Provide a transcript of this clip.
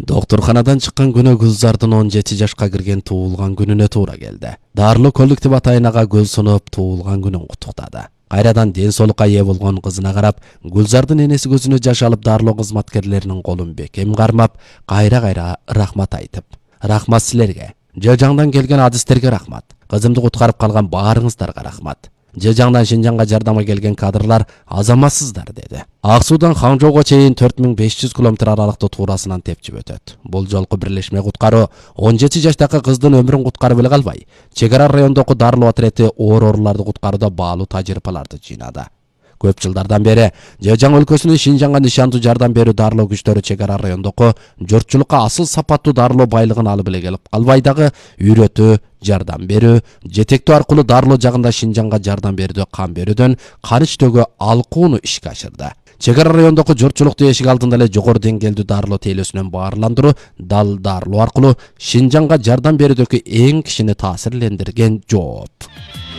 Доктурханадан чыккан күнү Гүлзардын 17 жашка кирген туулган күнүнө туура келди. Дарлуу коллектив атайынага гүл сунуп туулган күнүн куттуктады. Кайрадан ден соолукка ээ болгон кызына карап, Гүлзардын энеси көзүнө жаш алып дарлоо кызматкерлеринин колун бекем кармап, кайра рахмат айтып. Рахмат силерге. Жыжаңдан келген адистерге рахмат. Кызымды куткарып калган баарыңыздарга рахмат. Жыжаңдан Шинжаңга жардамга келген кадрлар азаматсыздар деди. Ак Суудан Хаңжоого чейин 4500 км аралыкты туурасынан тепчип өтөт. Бул жолку бирлешме куткаруу 17 жаштагы кыздын өмүрүн куткарып эле калбай, чек ара райондогу дарлоо отирети оор-ооруларды куткарууда баалуу тажрыйбаларды жыйнады. Көп жылдардан бери Жыжаң өлкөсүнүн Шинжаңга нишандуу жардам берүү дарлоо күчтөрү чек ара райондогу журтчулукка асыл сапаттуу дарлоо байлыгын алып эле келип калбай дагы үйрөтүү, жардам берүү, жетектөө аркылуу дарлоо жагында Шинжаңга жардам берүүдө кам берүүдөн кан ичтөөгө алкууну ишке ашырды. Чек ара райондогу журтчулукту эшик алдында эле жогору деңгээлдүү дарлоо тейлөөсүнөн баарландыруу дал дарлоо аркылуу Шинжаңга жардам берүүдөгү эң кишини таасирлендирген жооп.